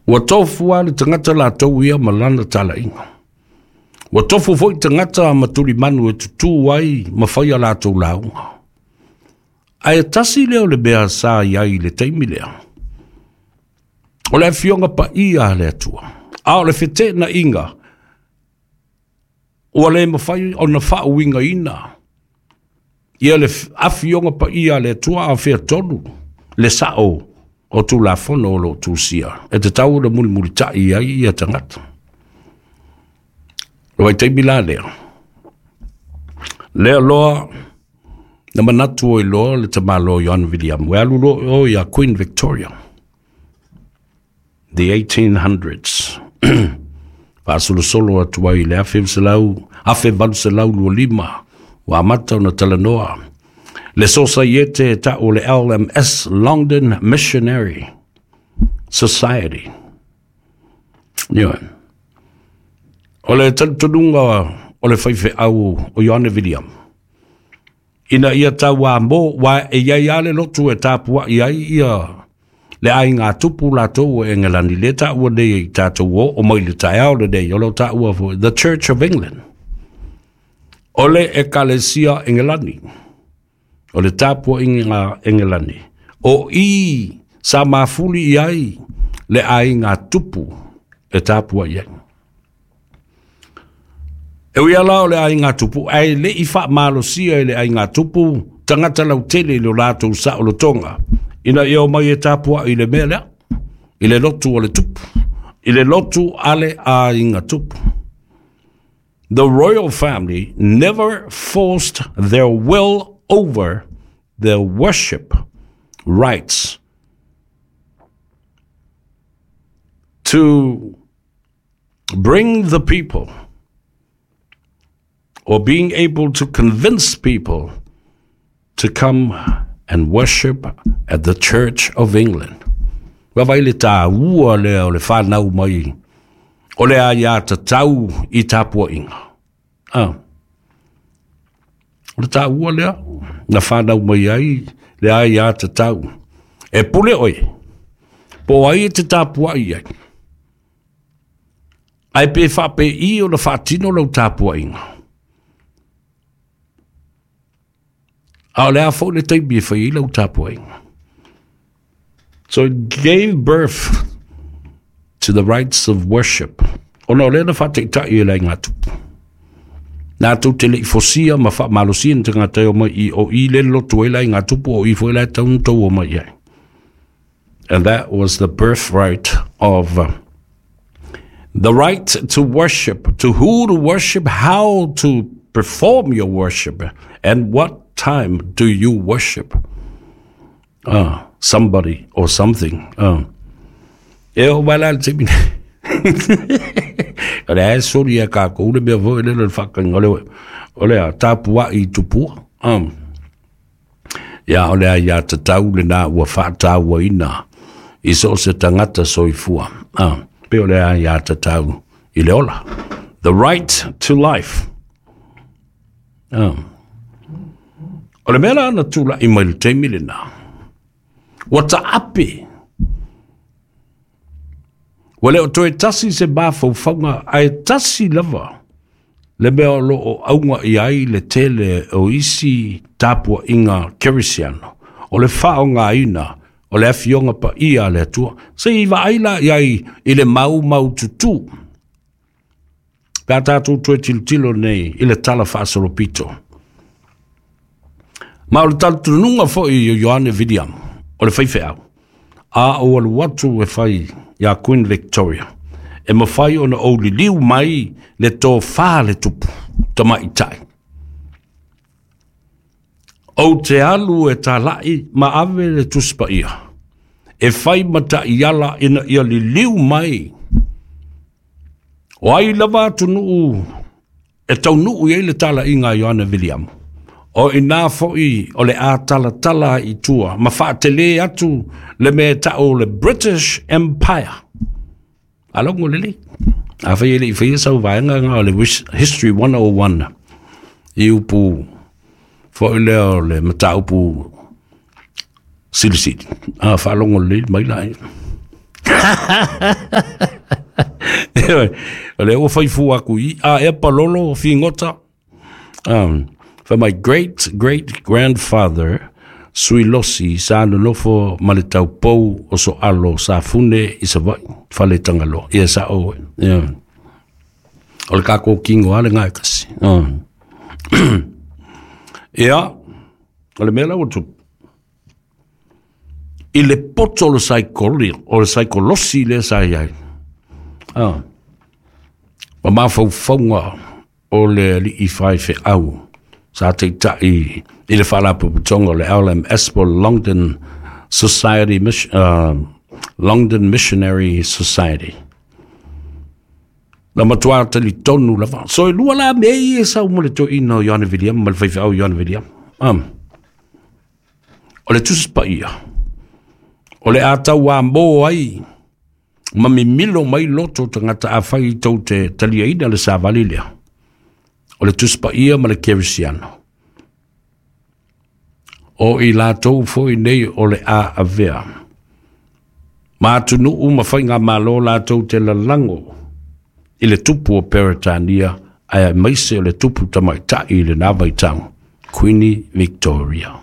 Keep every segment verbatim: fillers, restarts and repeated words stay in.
Ua tofu lava le tagata latou ia ma lana talaiga. Ua tofu foi tagata ma tulimanu e tutū ai ma fai a latou lauga. Ae tasi lea o le mea sa i ai i le taimi lea. O le afioga paia a le Atua. A o le feteenaiga, ua le mafai ona faauigaina ia le afioga paia a le Atua a o fea tonu le sao o Tulafono o lo o tusia e tatau ona mulimulitai ai ia tagata. O le vaitaimi la lea, lea loa na manatu ai loa le tamaloa Ioane Viliamu, e alu loa o ia Queen Victoria, the eighteen hundreds, faasolosolo atu ai i le afe valu selau lua lima, ua amata ona talanoa le sosaiete e tau o le L M S, London Missionary Society. Ioe. O le talitonuga o le faifeau o Ioane Viliamu, ina ia tauamo, wa e iai lava le lotu e tapuai ai ia le aiga tupu latou o Engelani, le taua nei i tatou o mai le taeao lenei, o lo taua foi, The Church of England. O le ekalesia Engelani, o le tapuaiga Engelani, o i sa mafuli i ai le aiga tupu e tapuai ai. E ui ala o le aiga tupu, ae le i faamalosia i le aiga tupu, tagata lautele i lo latou saolotoga, ina ia o mai e tapuai i le mea lea, i le lotu o le tupu, i le lotu a le aiga tupu. The royal family never forced their will over their worship rights to bring the people or being able to convince people to come and worship at the Church of England. Ua vai le tāua lea o le whanau mai, o le aia tatau i tapuaiga. Ah. O le tāua lea, na whanau mai ai le aia tatau. E pule oe, po ai e te tapuai ai. Ai pe whape i o le whaatino lau tapuaiga. A o le a fo le taimi e whai i lau tapuaiga. So it gave birth to the rights of worship. Ona o lea na whaateitai e lai ngā tupu. Nā tau te lei fosia ma whaamalosia ni tangata o mai i o i le lotu e lai ngā tupu o i fo e lai taunu tau o mai ai. And that was the birthright of uh, the right to worship, to who to worship, how to perform your worship, and what time do you worship uh, somebody or something. Uh. E o mai la le taimi nei. O le ae sori e kākou le mea foi le le whakanga o le o le a tapuai i tupua. Um. Ia o le a ia tatau le nā ua whaataua ina i so se tangata soifua. Uh. Pe o le a ia tatau i le ola. The right to life. Um. O le mea la na tula i mai le taimi le nā. Ua taape. Ua leo toe tasi se mafaufauga ae tasi lava le mea o loo auga i ai le tele o isi tapuaiga kerisiano. O le faaaogaina o le afioga paia a le Atua. Se i vaai la i ai i le maumau tutū. Pe a tatou toe tilotilo nei i le tala faasolopito. Ma o le talitonuga foi o Ioane Viliamu, o le faifeau, a o alu atu e fai ia Queen Victoria, e mawhai ona o liliu mai le tō whā le tupu, tamaitai. O te alu e talai ma ave le tuspaia, e whai mata iala ina ia liliu mai. O ai lava atunuu, e taunuu i le tala inga Ioane Viliamu. O ina foi o le a tala tala i tua, ma whaatele atu le mea tau le British Empire. Alongo lele. A whai ele i whai sau vaenga ngā o le History one oh one. I upu foi lea o le mataupu silisili. A whaalongo lele mai lai. O le ua faifu aku i a e palolo figota. Um, for my great great grandfather Suilosi sa nonofo ma le taupou o Soalo sa fune i Savaii fale Tagaloa. Ia sa oe. Ia. O le kākou kingo ale ngai kasi. Um. Ia, o le mea la ua tupu. I le poto o le saikoli, o le saikolosi lea sa i ai. Ah. Ma mafaufauga o le alii faifeau sa taitai i le faalapotopotoga o le L M S po o le London Society uh, London Missionary Society. Na matua talitonu lava. So e lua la mea ia e sau mo le toeaina o Ioane Viliama ma le faifeau Ioane Viliama. Um. O le Tusi Paia. O le a tauamō ai ma mimilo mai loto tagata afai tou te taliaina le savali lea. O le Tusi Paia ma le Kerisiano. O i latou foi nei o le a avea. Ma atunuu ma faiga malo latou te lalago i le tupu o Peretania ae aemaise o le tupu tamaitai i lena vaitau, Queenie Victoria.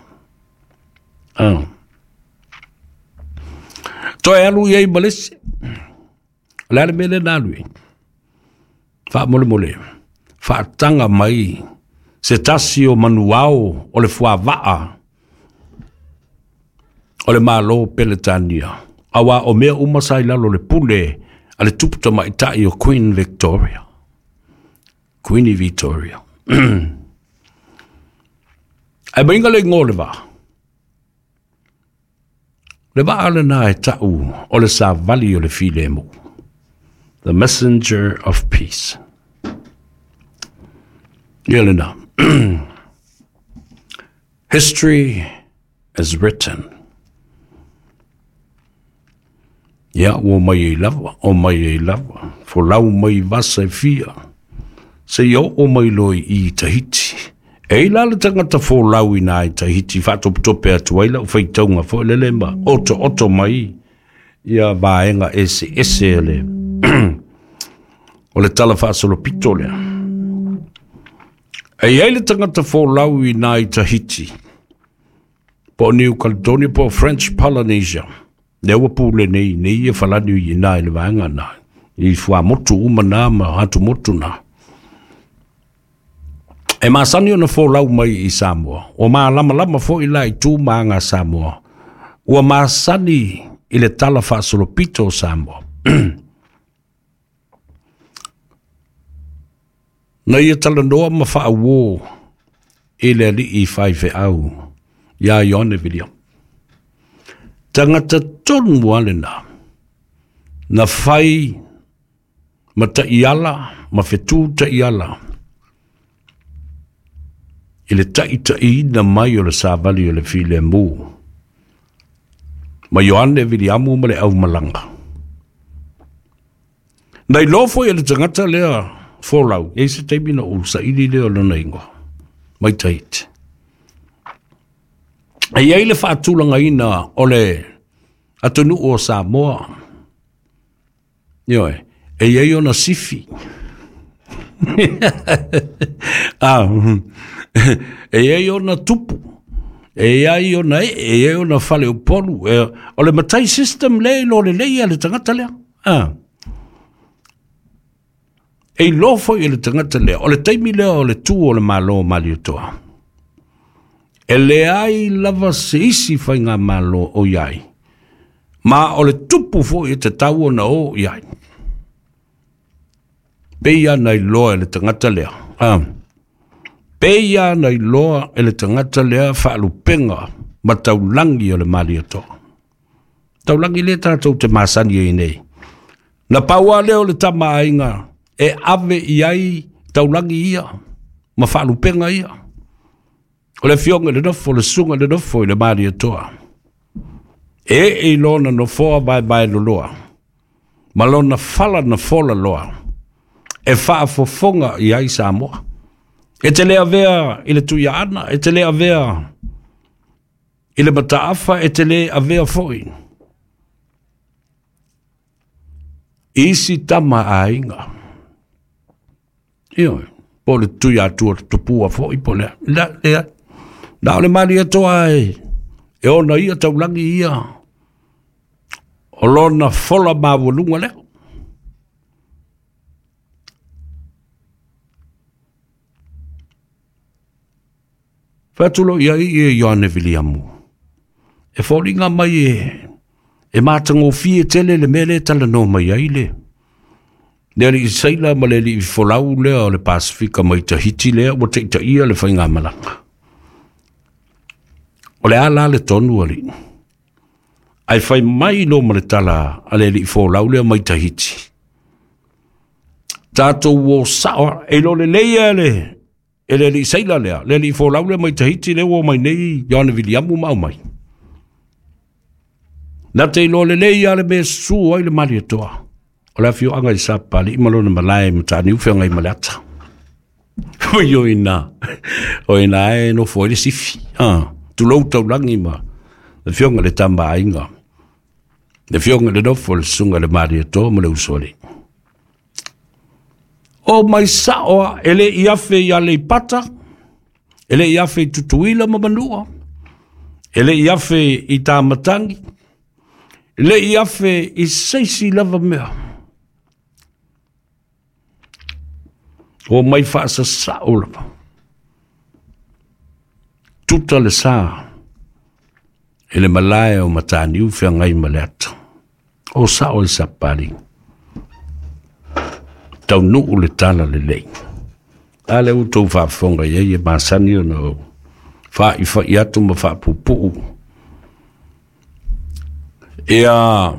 Ah. Toe alu i ai ma le isi. O le a le mea lea na alu ai? Faamolemole, faataga mai se tasi o manuao o le fuavaa o le malo Peretania. Auā o mea uma sa i lalo o le pule a le tupu tamaitai o Queen Victoria. Queenie Victoria. Ae maiga le igoa o le vaa. Le vaa lena e tau o le savali o le filemu. The Messenger of Peace. Ia lena. History is written. Ia, ua mai ai lava, o mai ai lava. Folau mai vasa e fia. Se i oo mai loa i Tahiti. E i la le tagata folau ina i Tahiti, faatopetope atu ai lau faitauga foi lele ma oto oto mai ia vaega ese ese le o le tala faasolopito lea. E i ai le tagata folau ina i Tahiti, po o New Caledonia, po o French Polynesia. Lea ua pule nei nei ia falani i ina i le vaega na. I fuamotu uma na ma atumotu na. E masani ona folau mai i Samoa. Ua malamalama foi la i tu ma aga Samoa. Ua masani i le tala faasolopito o Samoa. Na ia talanoa ma faauō i le alii faifeau iā Ioane Viliama. Tagata tonu lava lena na fai ma taiala ma fetū taiala i le taitaiina mai o le savali o le filemu ma Ioane Viliamu ma le aumalaga. Na iloa foi e le tagata lea folau, e i se taimi na ou saili lea o lona igoa mai Tahiti. E i ai le faatulagaina o le atunuu o Samoa. Ioe, e i ai ona sifi. Ah, e i ai ona tupu. E i ai ona ee, e i ai ona faleupolu. E, o le matai system lea i lo lelei a le tagata lea. Ah. E iloa foi e le tagata lea, o le taimi lea o le tu o le malo o Malietoa. E leai lava se isi faigamalo o i ai. Ma o le tupu foi e tatau ona o i ai. Pei na iloa e le tagata lea. Ah. Pei na iloa e le tagata lea faalupega ma taulagi o le Malietoa. Taulagi lea tatou te masani ai nei. Na pau lava lea o le tamaaiga e ave i ai taulagi ia ma faalupega ia. O le afioga i le nofo, le susuga i le nofo i le Malietoa. E ee i lona nofoa vaevaeloloa, ma lona fala na fola loa, e faafofoga i ai Samoa. E te le avea i le Tuiaana, e te le avea i le Mataafa, e te le avea foi Isi tama aiga. Ioe, po le tui atua tupua fo'i po le la le na o le Malietoa e e ona ia taulagi ia o lona fola maualuga lea. Fai atu loa i ai ia Ioane Viliamu e foliga mai e e matagofie tele le mea lea e talanoa mai ai le le alii sailor ma le alii folau lea o le Pasefika mai Tahiti lea ua taitaia le faigamalaga. O le a la le tonu alii? Ae fai mai loa ma le tala a le alii folau lea mai Tahiti. Tatou o sao e iloa lelei e le e le alii sailor lea, le alii folau lea mai Tahiti lea ua omai nei Ioane Viliamu ma aumai. Na te iloa lelei lava le mea e susu ai le Malietoa. O le afioaga i Sapapalii ma lona malae i Mataniu Feagaimaleata. Oi o ina, o ina e nofo ai le sifi. Ah, tulou taulagi ma le afioga i le Tama a Aiga. Le afioga i le nofo le susuga i le Malietoa ma le Usoalii. O mai sao a e le i afe i Aleipata, e le i afe i Tutuila ma Manua, e le i afe i Tamatagi, e le i afe i seisi lava mea. O mai faasasao lava. Tuta le sa e le malae o Mataniu Feagaimaleata. O sao i Sapapalii. Taunuu le tala lelei. A lea ua outou faafofoga i ai e masani ona ou faaifa'i atu ma faapupuu. Ia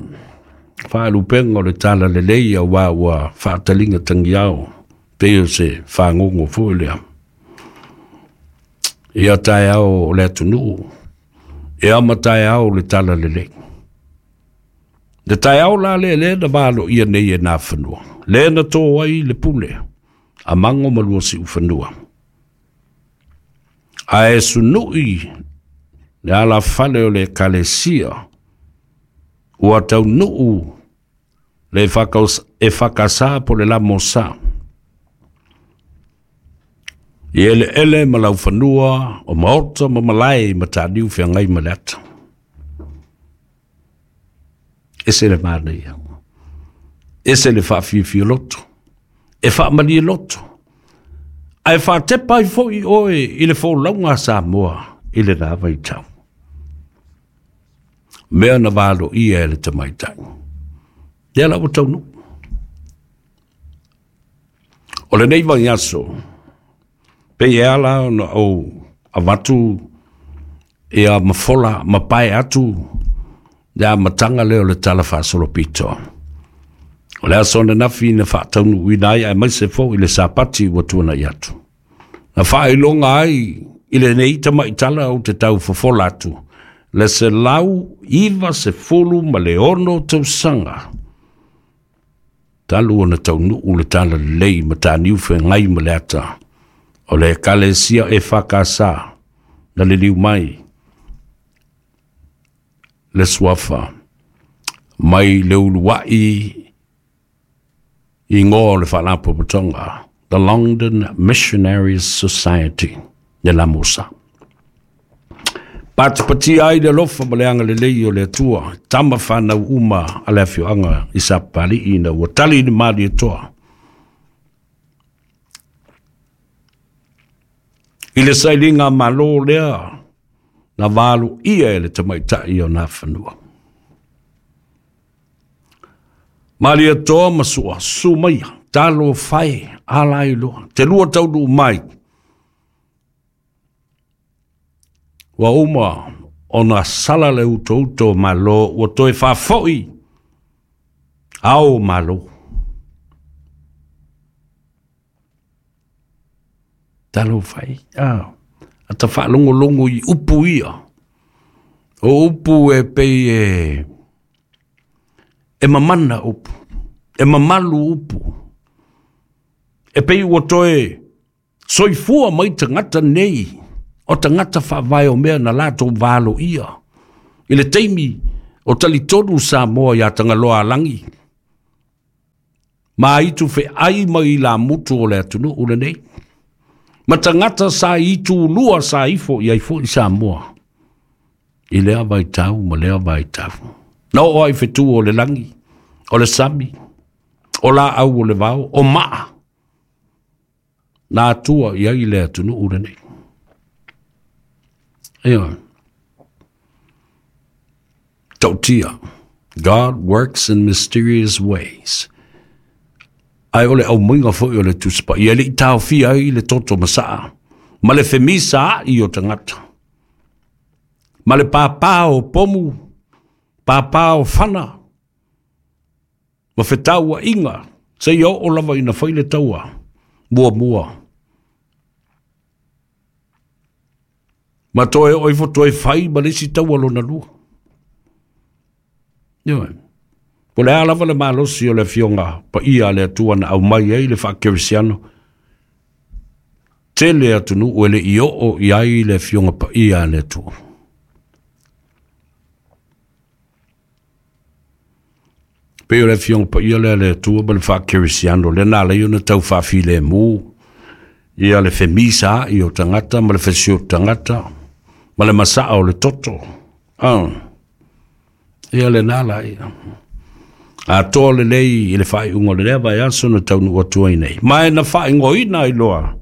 faalupega o le tala lelei auā ua faataliga tagiao pei o se fagogo foi lea. Ia taeao o le atunuu, e ama taeao le tala lelei. Le taeao la lea lea na valoia nei e Nafanua. Lea na tō ai le pule, a Mago ma lua Siufanua. Ae sunui le alafale o le Ekalesia ua taunuu le e fakasa po le lamosa. I eleele ma laufanua o maota ma malae i Mataniu Feagaimaleata. Ese le manaia. Ese le faafiafia loto. E faamalie loto. Ae faatepa ai fo'i oe i le folauga a Samoa i lena vaitau. Mea na valoia e le tamaitai. Lea la ua taunuu. O lenei vaiaso, pei e ala ona ou avatu ia ma fola ma pae atu le amataga lea o le tala faasolopito. O le aso ananafi na faataunuuina ai aemaise fo'i le Sapati ua tuana'i atu. Na faailoga ai i lenei tamaitala ou te tau fofola atu le selau iva sefulu ma le ono tausaga. Talu ona taunuu le tala lelei Mataniu Feagaimaleata o le Ekalesia E F K S na liliu mai le suafa mai le ulua'i igoa o le faalapotopotoga The London Missionary Society le Lamosa. Patipatia ai le alofa ma le agalelei o le Atua, tama whanau uma a le afioaga i Sapapalii ina ua tali le Malietoa. I le sailiga malo lea na valoia e le tamaitai o Nafanua. Malietoa ma sua, susu maia, talo fae, ala ai loa, te lua taunuu mai. Ua uma ona sala le utouto o malo, ua toe faafo'i ao o malo. Talo fai, ah, ata faalogologo i upu ia. O upu e pei e, e mamana upu, e mamalu upu. E pei ua toe soifua mai tagata nei, o tagata faavae o mea na latou valoia. I le taimi o talitonu Samoa iā Tagaloaalagi. Ma itu fe ai mai la mutu o le atunuu lenei. Ma tagata sa itu lua sa ifo i ai foi Samoa. I lea vaitau ma lea vaitau. Na oo ai fetu o le lagi, o le sami, o laau o le vao, o maa. Na atua i ai le atunuu lenei. Ioe. Tautia. God works in mysterious ways. Ai o le aumoiga foi o le Tusi Paia, e le i taofia ai le toto masaa, ma le femisa ai o tagata. Ma le pāpā o pomu, pāpā o fana, ma fetauaiga, seia oo lava ina fai le taua, muamua. Ma toe oo ifo toe fai ma le isi taua lona lua. Ioe. Po o le a lava le malosi o le Afioga Paia a le Atua na aumai ai le faakerisiano, tele atunuu e le i oo i ai le Afioga Paia a le Atua. Pei o le Afioga Paia lea a le Atua ma le faakerisiano, lea na ala ai ona tau faafilemu ia le femisa ai o tagata ma le fesioto tagata ma le masaa o le toto. Ah. Ia lena la ia. Atoa lelei i le faaiuga o le lea vaiaso na taunuu atu ai nei. Ma e na faaigoaina ai loa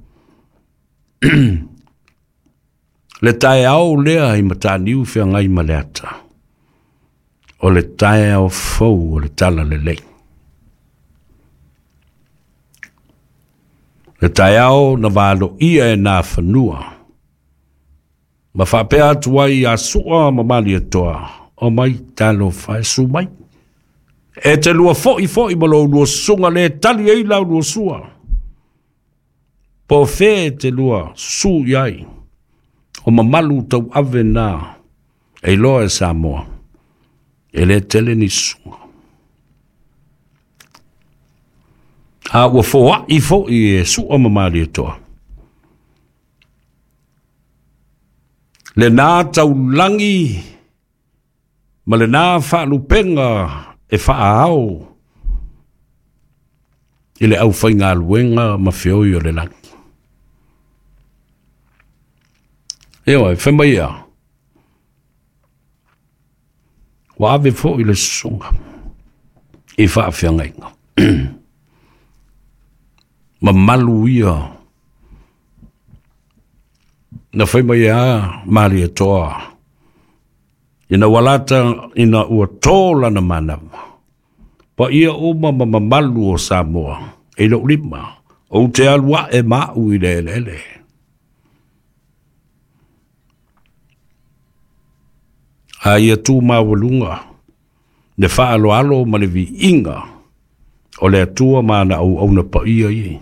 le taeao lea i Mataniu Feagai ma le Ata. O le taeao fou o le tala lelei. Le taeao na valoia e nā fanua. Ma faapea atu ai ia Sua ma Malietoa. O mai talofa e su mai. E te lua foi foi ma lou lua susuga le tali ai lau lua sua. Po o fea e te lua susu i ai. O mamalu tauave na e iloa e Samoa. E le tele ni susuga. A ua foai foi e Sua ma Malietoa. Lena taulagi ma lena faalupenga e faaao i le aufaigaluega ma feoi o le lagi. Ioe, fai mai ia, ua ave foi le susuga i faafeagaiga. Mamalu ia na fai mai a Malietoa ina ua lata ina ua tō lana manawa. Paia uma ma mamalu o Samoa e lou lima, ou te alu ae maau i le eleele. A ia tu maualuga le faaloalo ma le viiga o le Atua ma ana auauna paia ia.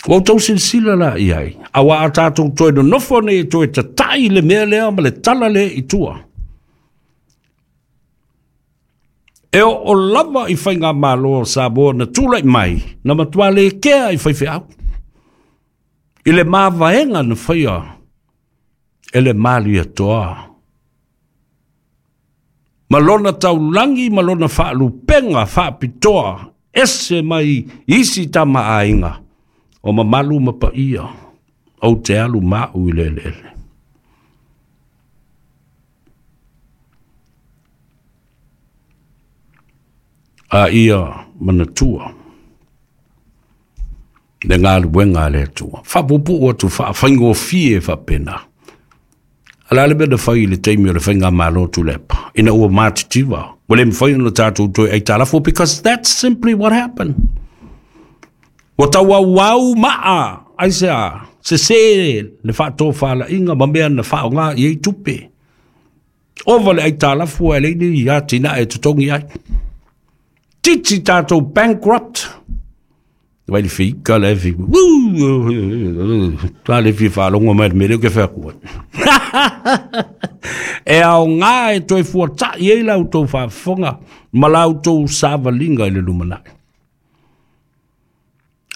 Ua outou silasila la i ai, auā a tatou toe nonofo nei e toe tatai le mea lea ma le tala lea i tua. E oo lava i faigamalo o Samoa na tulai mai, na matua lekea i faifeau. I le mavaega na faia e le Malietoa. Ma lona taulagi ma lona faalupenga faapitoa, ese mai isi tamaaiga o mamalu ma paia, ou te alu maau i le eleele. A ia manatua le galuega a le Atua. Faapuupuu atu faafaigofie faapena. A o le a le mea na fai i le taimi o le faigamalo Tuilaepa, ina ua matitiva, ua le mafai ona tatou toe aitalafu, because that's simply what happened. Ua tauauau maa, aisea, sesē le faatofalaiga ma mea na faaaoga i ai tupe. Ova le aitalafu ae leai ni atinae e totogi ai. Titi tatou bankrupt. Vai le fika le fi. Ta le fi faalogo mai le mea lea ou te fai atu ai. E aoga e toe fuata'i ai la outou faafofoga ma la outou savaliga i le lumanai.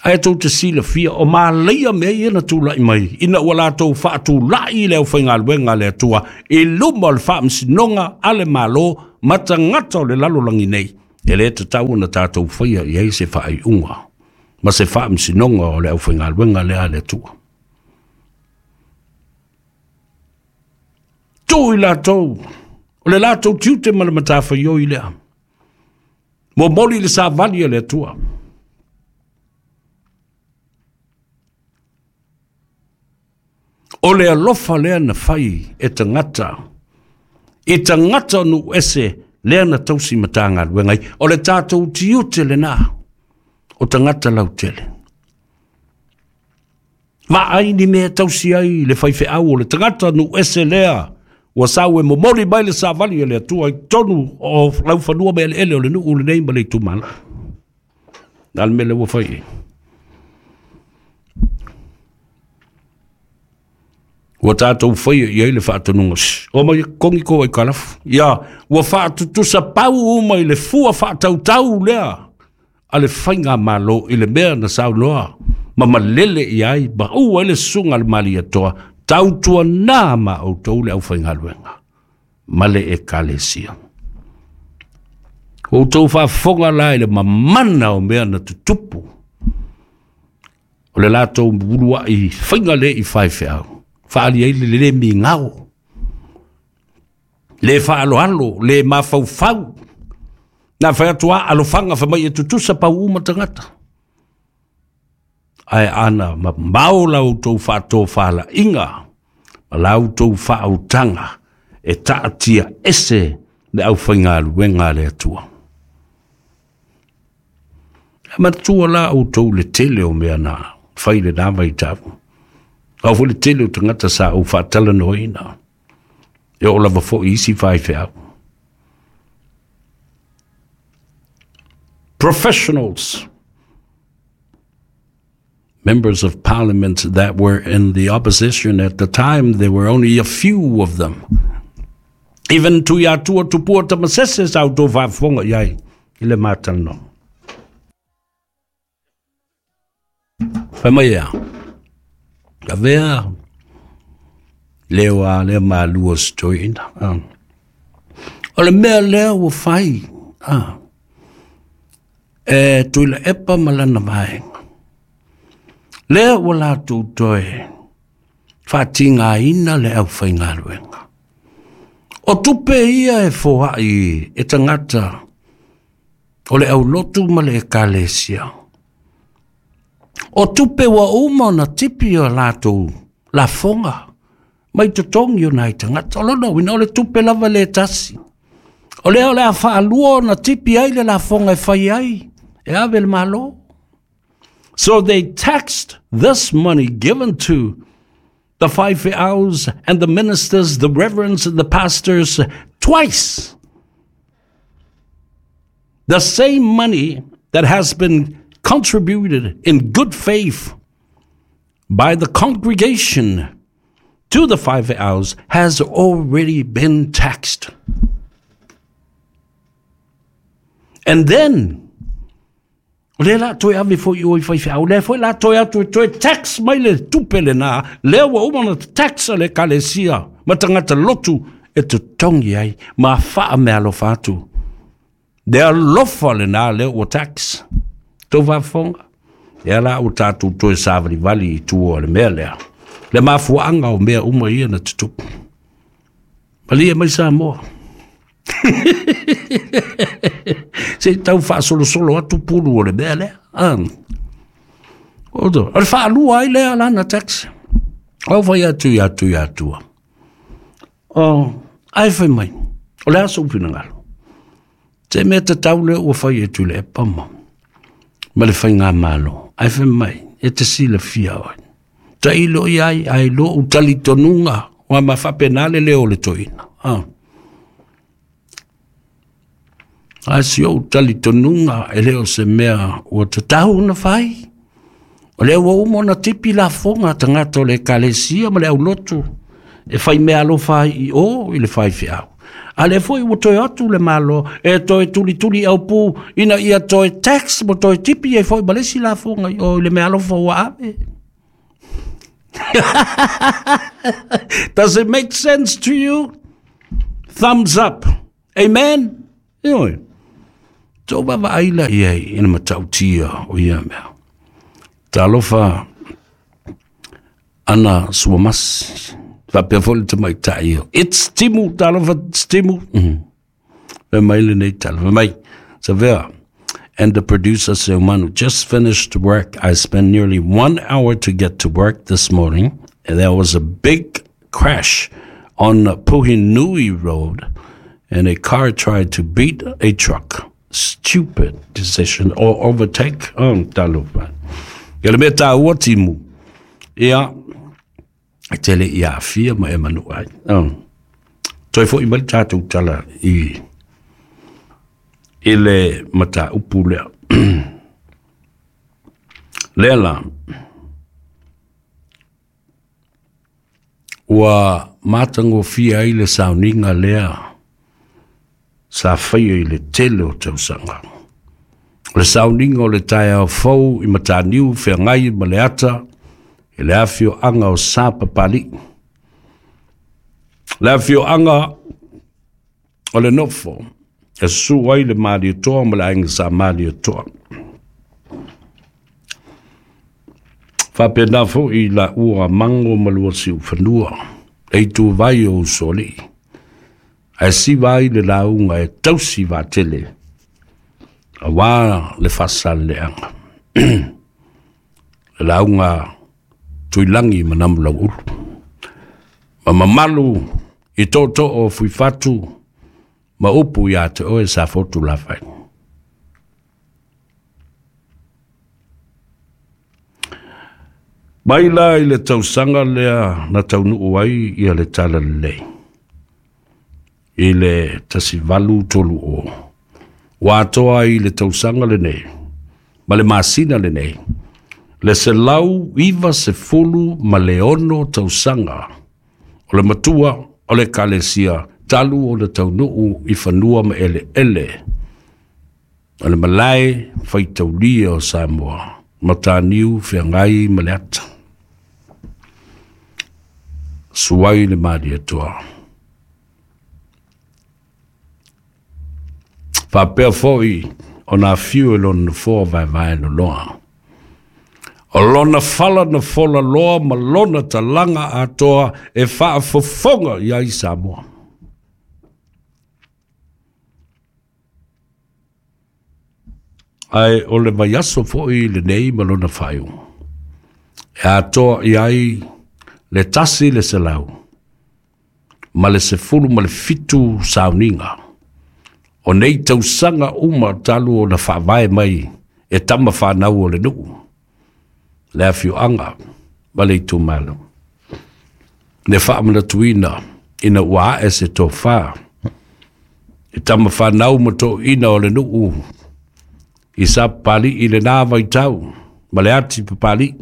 Ae tou te silafia o malaia mea ia na tula'i mai ina ua latou faatula'i le aufaigaluega a le Atua i luma o le faamasinoga a le Malo ma tagata o le lalolagi nei E le tatau ona tatou faia i ai se faaiuga ma se faamasinoga o le aufaigaluega lea a le Atua. Tuu i latou, o le latou tiute ma le matafaioi lea. Momoli le savali a le Atua. O le alofa lea na fai e tagata, i tagata o nuu ese lea na tausi matagaluega ai. O le tatou tiute lena o tagata lautele. Vaai ni mea tausi ai le faifeau o le tagata nuu ese lea ua sau e momoli mai le savali a le Atua i totonu o laufanua ma eleele o le nuu lenei ma le itumalo. Na le mea lea ua fai ai. Ua tatou faia i ai le faatonuga. O mai kongi ko ai kalafu. Ia, ua faatutusa pau uma i le fua faatautau lea a le faiga malo i le mea na saunoa ma malele i ai ma ua ai le susuga a le Malietoa tautuana ma outou le aufaigaluega ma le ekalesia. Outou faafofoga la i le mamana o mea na tutupu o le latou uluai faiga le i faifeau. Faali ai le le migao, le faaloalo, le mafaufau. Na fai atu a alofaga fai mai e tutusa pau uma tagata. Ae ana mamao la outou faatofalaiga ma la outou faautaga e taatia ese le aufaigaluega a le Atua. E manatua la outou le tele o mea na fai lena vaitau. Au foi le tele o tagata sa ou faatalanoaina. E oo lava foi isi faifeau. Professionals, members of parliament that were in the opposition at the time, there were only a few of them. Even Tuiatua Tupua Tamasese sa outou faafofoga i ai i le matalanoa. Fai mai ea, avea leo a lea malua se toeaina. O le mea lea ua fai, ah, e Tuilaepa ma lana vaega. Lea ua latou toe faatigaina le aufaigaluega. O tupe ia e foai e tagata o le aulotu ma le ekalesia. O tupe ua uma ona tipi o latou lafoga mai totogi o nai tagata. O lona uiga o le tupe lava le tasi. O lea o le a faalua ona tipi ai le lafoga e fai ai e ave le malo. So they taxed this money given to the faifeaus and the ministers, the reverends and the pastors twice. The same money that has been contributed in good faith by the congregation to the faifeaus has already been taxed. And then, o lea la toe ave foi o i faifeau, lea foi la toe atu e toe tax mai le tupe lena, lea ua uma na tax a le ekalesia ma tagata lotu e totogi ai ma faamealofa atu. Le alofa lena lea ua tax. Tou faafofoga. Ia la ua tatou toe savalivali i tua o le mea lea. Le mafuaaga o mea uma ia na tutupu. Malie mai Samoa. Se tau faasolosolo atu pulu o le mea lea. Ah. O le faalua ai lea lana tax. Au fai atu i atu i atua. O, ai fai mai. O le aso ufinagalo. Te mea tatau lea ua fai e Tuilaepa ma. Ma le faiga malo. Ai fai mai. E te silafia oe. Tailo i ai, ai lo utalitonuga. Wa ma faapena le leo o le toeaina. Ah. A si ou talitonuga e le o se mea ua tatau ona fai. O lea ua uma ona tipi lafoga tagata o le ekalesia ma le aulotu e fai mea alofa ai i o i le faifeau. A lea foi ua toe atu le malo e toe tulituli au pu ina ia toe tax mo toe tipi ai foi ma le isi lafoga i o i le mea alofa ua ave. Does it make sense to you? Thumbs up. Amen? Ioe. Tō baba aila ia i ina matautia o ia mea. Talofa ana suamasi. Whapea fo le tamai tai. It's Timu, talofa, it's Timu. Mm. Fe mai le nei tala. Fe mai, Savea. And the producer Seumanu just finished work. I spent nearly one hour to get to work this morning. And there was a big crash on Puhinui Road, and a car tried to beat a truck. Stupid decision or overtake. Oh, talofa. Ia le mea tāua Timu. Ia, e tele ia afia ma e manu ai. Oh. Toi fo i mai tātou tala i i le mata upu lea. Lea la, ua mātangofia ai le sauninga lea sa whaia i le tele o tausaga. O le sauninga o le taeao fou i Mataniu wheangai ma le ata i le awhio anga o sa papali. Le awhio anga o le nofo e su ai le Malietoa ma le ainga sa Malietoa. Whapena fo i la ua mango malua si uwhanua e tu vai o usoli. Ae siva ai le launga e tausi vatele a wā le whasal le anga. Le launga tuilangi manamu lau ulu. Ma mamalu i tōtō o fuifatu ma upu ia te oe sa fotu lawhai. Mai la i le tausanga lea na taunuu ai ia le tala lelei. I le tasivalu tolu o. Wātoa i le tausanga le nei, ma le masina le nei, le se lau iwa se fulu ma le ono tausanga, o le matua o le kalesia, talu o le taunuu i whanua ma ele ele, o le malae whaitaulia o Samoa, Mataniu whangai ma le ata. Suai le Malietoa. Whapea foi o nā whiu e lona foa vai vai no loa. O lona whala na fola loa ma lona talanga atoa e whaafofonga ia i Samoa. Ai o le vaiaso foi le nei ma lona whaiu. E atoa i ai le tasi le selau, ma le sefulu ma le fitu sauninga. O nei tausanga uma talu o na whaavae mai e tama whanau o le nuu. Le awhio anga, ma le itumalo. Le whaamana tuina, ina ua e se tō whā. E tama whanau ma tō ina o le nuu. I sa pali i le nā vaitau, ma le ati papali.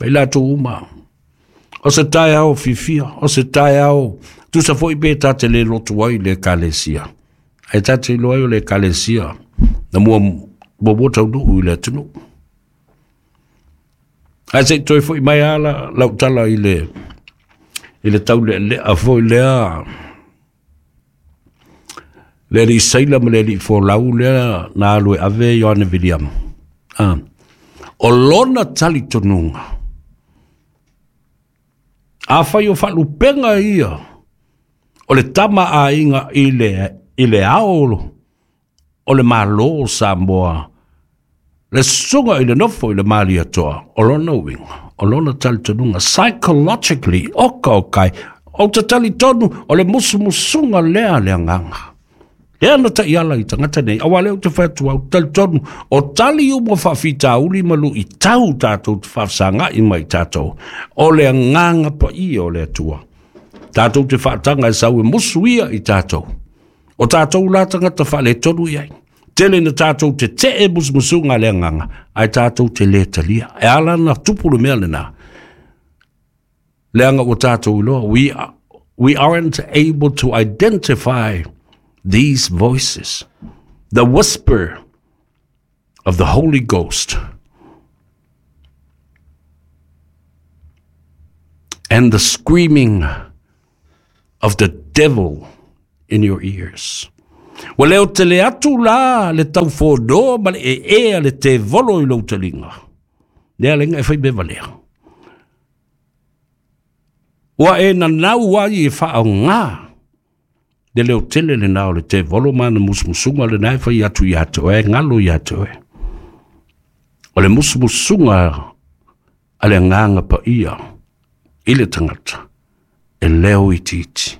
Mai la tō uma. O se tae ao fifia, o se tae ao. Tusa foi pe tate le lotu ai le kalesia. Ai tate lo ai o le kalesia. Na mua mua mua tau nuu i le atunu. Ai se toi foi mai ala lau tala i le i le tau le le a foi lea. Le li saila ma le li folau lea na alu e ave Ioane William. Ah. O lona tali tonunga. A whai o whalupenga ia o le tama a inga i le, i le aolo o le malo o Samoa le sunga i le nofo i le Malietoa o lona uinga, o lona talitonunga psychologically oka o kai o te talitonu o le musumusunga lea le anganga. Lea na ta iala i tangata nei, awa leo te whatua au talitonu o tali umo whawhitauli malu i tau tātou te whawsanga i mai tātou o le anganga pa i o le atua. Tātou te whaatanga e sau e musuia i tātou. O tātou la tangata whale tonu iai. Tele na tātou te te e musumusunga le anganga, ai tātou te le talia. E ala na tupulu mea le nā. Le anga o tātou iloa, we, we aren't able to identify these voices, the whisper of the Holy Ghost and the screaming of the devil in your ears. Ua leo tele atu la le taufono ma le ee a le tevolo i lou taliga. Lea laina e fai mea valea. Ua e nanau ai e faaaogā le leo tele lenā o le tevolo ma ana musumusuga lenā e fai atu iā te oe, galo iā te oe. O le musumusuga a le Agaga Paia i le tagata, e leo itiiti,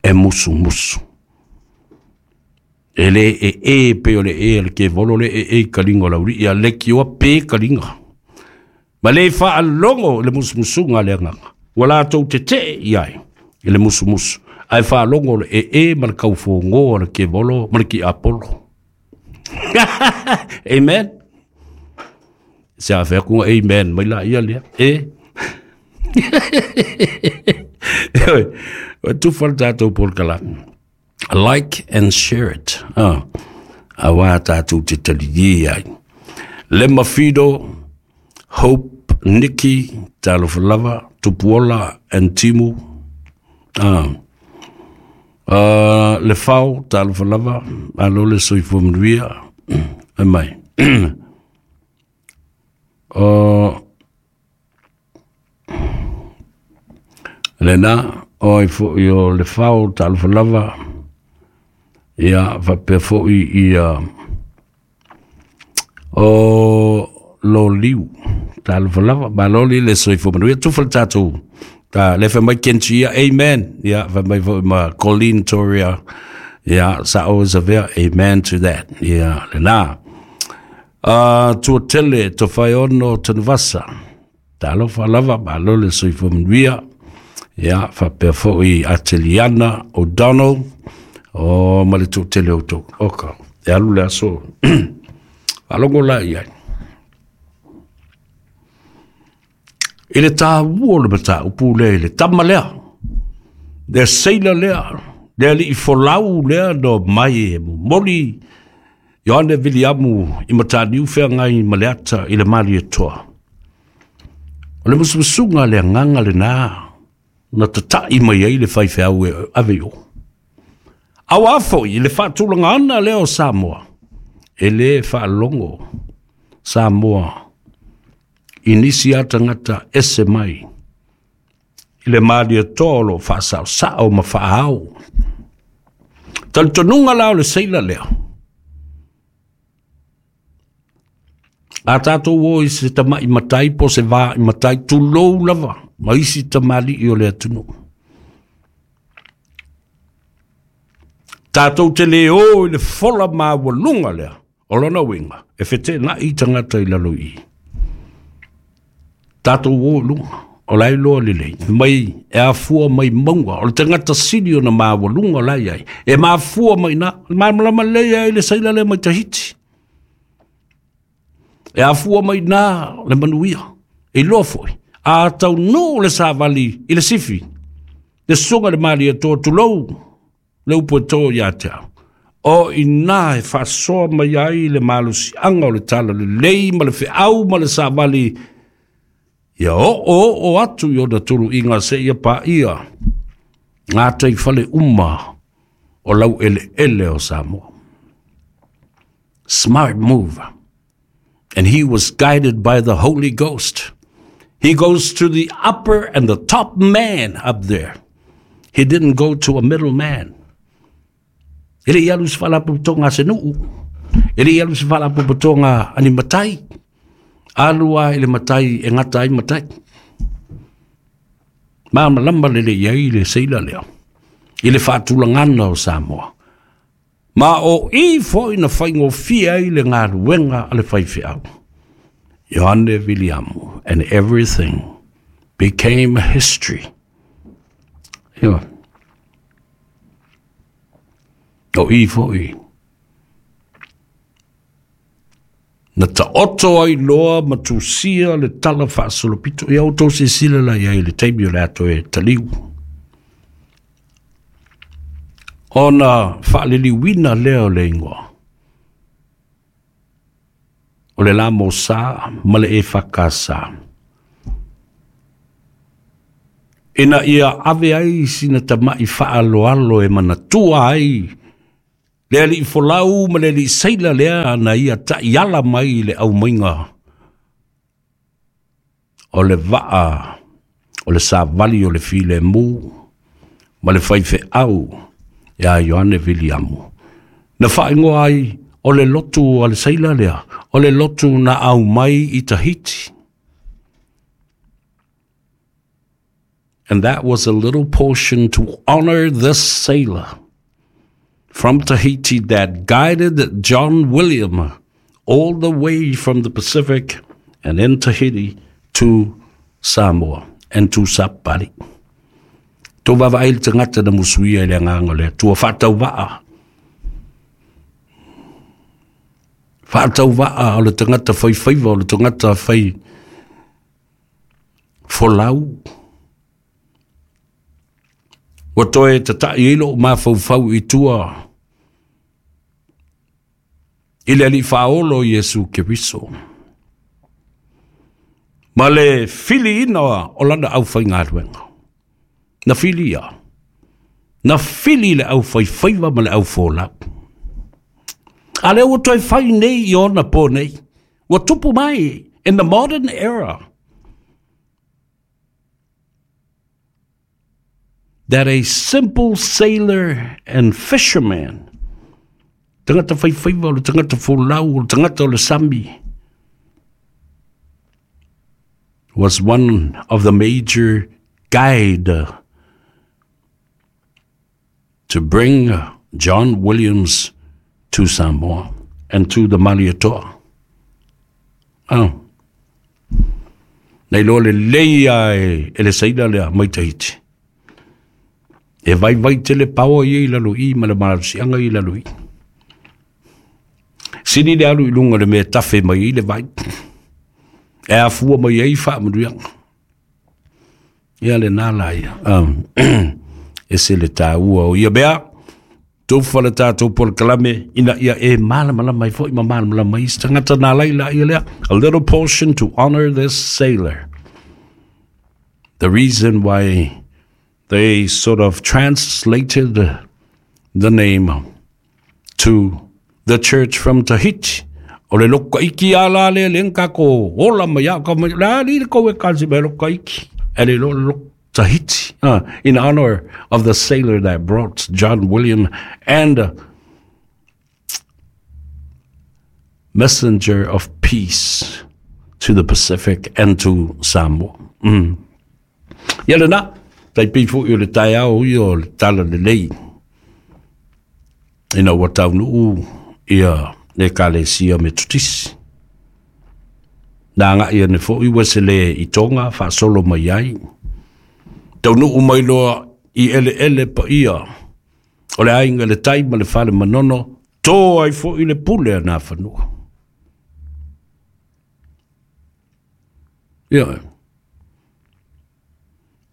e musumusu. E le e e pe o le e le ke volo le e e kalinga o lauli ia le kioa pe kalinga. Ma le faalogo le musumusuga a le Agaga. Ua latou tetee i ai i le musumusu. Ae faalogo le e e ma le kaufogo a le kevolo ma le kiapolo. Amen. Se a fea kunga amen mai la ia lea. E. E tufa le tātou polokalame. Like and share it. Ah. Aua tātou te talilie ai. Lema Fido, Hope, Nikki, Talofa lava, Tupuola and Timu. Ah. Uh, le Fao, talofa lava, alo le soifua manuia. E mai. Uh, lena, oi fo'i o le Fao, talofa lava, ia faapea fo'i ia o lo liu, talofa lava, malo li le soifua manuia, tufa le tātou. Ta le fa mai Kenchi, ia, amen. Ia, fa mai fo'i ma Colleen Toria, ia, sa o savea, amen to that. Ia, lena. Uh, tua tele, to whai ono tanvasa. Talofa lava, malo le soifua manuia. Ia, faapea fo'i Ateliana O'Donnell, o ma le toatele o tau. Oka, e alu le aso. Faalogo la i ai. I le tāua o le mataupu lea, i le tama lea, le seila lea, le alii folau lea no mai e momoli Ioane Viliamu i Mataniu Feagai ma le ata i le Malietoa. O le musumusuga le Agaga lenā na tata'i mai ai le faifeau e ave i o. Auā fo'i i le faatulaga ana lea o Samoa, e lē faalogo Samoa i nisi a tagata ese mai i le Malietoa o loo faasaosao ma faaao. Talitonuga la o le seila lea. A tātou o i se tama'i matai po se vā i matai tulou lava ma isi tamali'i o le atunuu. Tātou te le o i le fola maualuga lea o lona uiga e feteena'i tagata i lalo i. Tātou o i luga o la e iloa lelei mai e afua mai mauga o le tagata sili ona maualuga o la e i ai e mafua mai ina malamalama lelei ai le saila lea mai Tahiti. E afua mai nā le manuia, e iloa fo'i, a taunuu le savali i le sifi, le susuga i le Malietoa tulou le upu e tō iā te au. O inā e faasoa mai ai le malosiaga o le talalelei ma le feau ma le savali, ia oo oo atu i ona tuluiga seia paia gataifale uma o laueleele o Samoa. Smart move. And he was guided by the Holy Ghost. He goes to the upper and the top man up there. He didn't go to a middle man. E le i alu i se faalapotopotoga a se nuu. E le i alu i se faalapotopotoga a ni matai. Alu a i le matai e gata ai matai. Malamalama lelei ai le seila lea i le faatulagana o Samoa. Ma o i fo'i na faigofie ai le galuega a le faifeau. Ioane Viliamu, and everything became history. Ia. O i fo'i na taoto ai loa ma tusia le tala faasolopito. Ia outou silasila la i ai i le taimi o le ato e taliu. Ona faaliliuina lea o le igoa o le la Mosā ma le Efakasā. Ina ia ave ai sina tama'i faaloalo e manatua ai Le alii folau ma le alii seila lea na ia ta'iala mai i le aumaiga o le vaa o le savali o le filemu ma le faifeau iā Ioane Viliamu. Na faaigoa ai o le lotu a le seila lea, o le lotu na aumai i Tahiti. And that was a little portion to honor this sailor from Tahiti that guided John William all the way from the Pacific and in Tahiti to Samoa and to Sapali. Tō vava ai le tagata na musuia i le agaga o le Atua faatauvaa. Faatauvaa o le tagata faifaiva o le tagata fai folau. Ua toe tata'i ai lo'u mafaufau i tua i le alii faaolo Iesu Keriso ma le filiina o lana aufaigaluega. Na filia, na fili le aufaifaiva ma le aufolau. A lea ua toe fai nei i ona po nei, ua tupu mai in the modern era that a simple sailor and fisherman, tagata faifaiva o le tagata folau o le tagata o le sami, was one of the major guide to bring John Williams to Samoa and to the Malietoa. Oh. Nei loa lelei a e, e le saila lea mai Tahiti. E vai vai tele paoa ia i lalo i ma le malosiaga i lalo i. Sini le alu i luga o le mea tafe mai ai le vai. E afua mai ai faamanuiaga. Ia lenā la ia. Um, e se le tāua o ia mea. Tufa le tātou polokalame ina ia e malamalama ai foi ma malamalama ai se tagata na laila ia lea. A little portion to honor this sailor. The reason why they sort of translated the name to the church from Tahiti. O le loko iki a la le le kako ola mai a ka mai la li le koe kasi me loko iki. E le loko Tahiti, uh, in honor of the sailor that brought John William and uh, messenger of peace to the Pacific and to Samoa. Mm. Ia lena, tai pei fo'i o le taeao ia o le tala lelei. Ina ua taunuu ia le Ekalesia Metotisi. Na aga'i ane fo'i ua se le i Tonga faasolo mai ai. Taunuu mai loa i eleele paia o le aiga le tai ma le fale manono, tō ai fo'i le pule a nā fanua. Ia,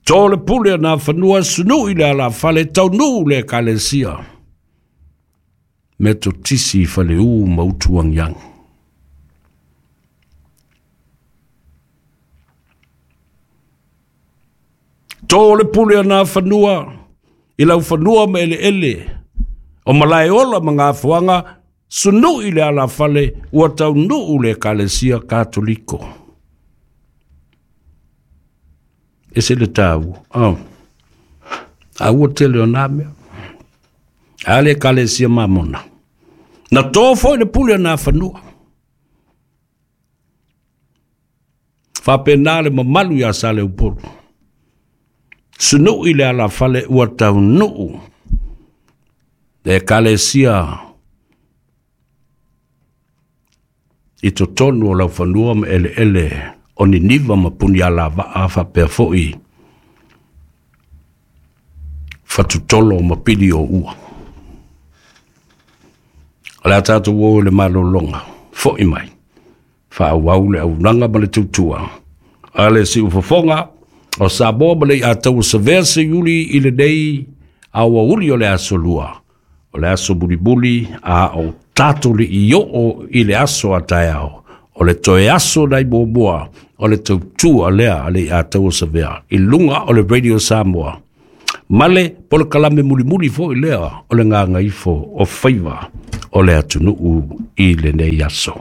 tō le pule a nā fanua sunu'i le alafale, taunuu le Ekalesia Metotisi i Faleu ma Utuagiagi. Tō le pule a nā fanua i lau fanua ma eleele o Malaeola ma Gafoaga, sunu'i le alafale ua taunuu le Ekalesia Katoliko. E se le tāua. Oh. A ua tele o nā mea. A le Ekalesia Mamona. Na tō foi le pule a nā fanua. Faapena le mamalu iā Saleupolu. Sunu'i le alafale ua taunuu le Ekalesia i totonu o laufanua ma eleele o Niniva ma Punialavaa faapea fo'i Fatutolo ma Pili o Ua. O le a tatou o i le malologa, fo'i mai, faaauau le auaunaga ma le tautua a le siufofoga o Samoa ma le iataua savea seiuli i lenei aoauli o le aso lua, o le aso mulimuli a o tatou li'i oo i le aso a taeao, o le toe aso nai muamua o le tautua lea a le iataua savea i luga o le Radio Samoa. Ma le polokalame mulimuli foi lea o le gagaifo o faiva o le atunuu i lenei aso.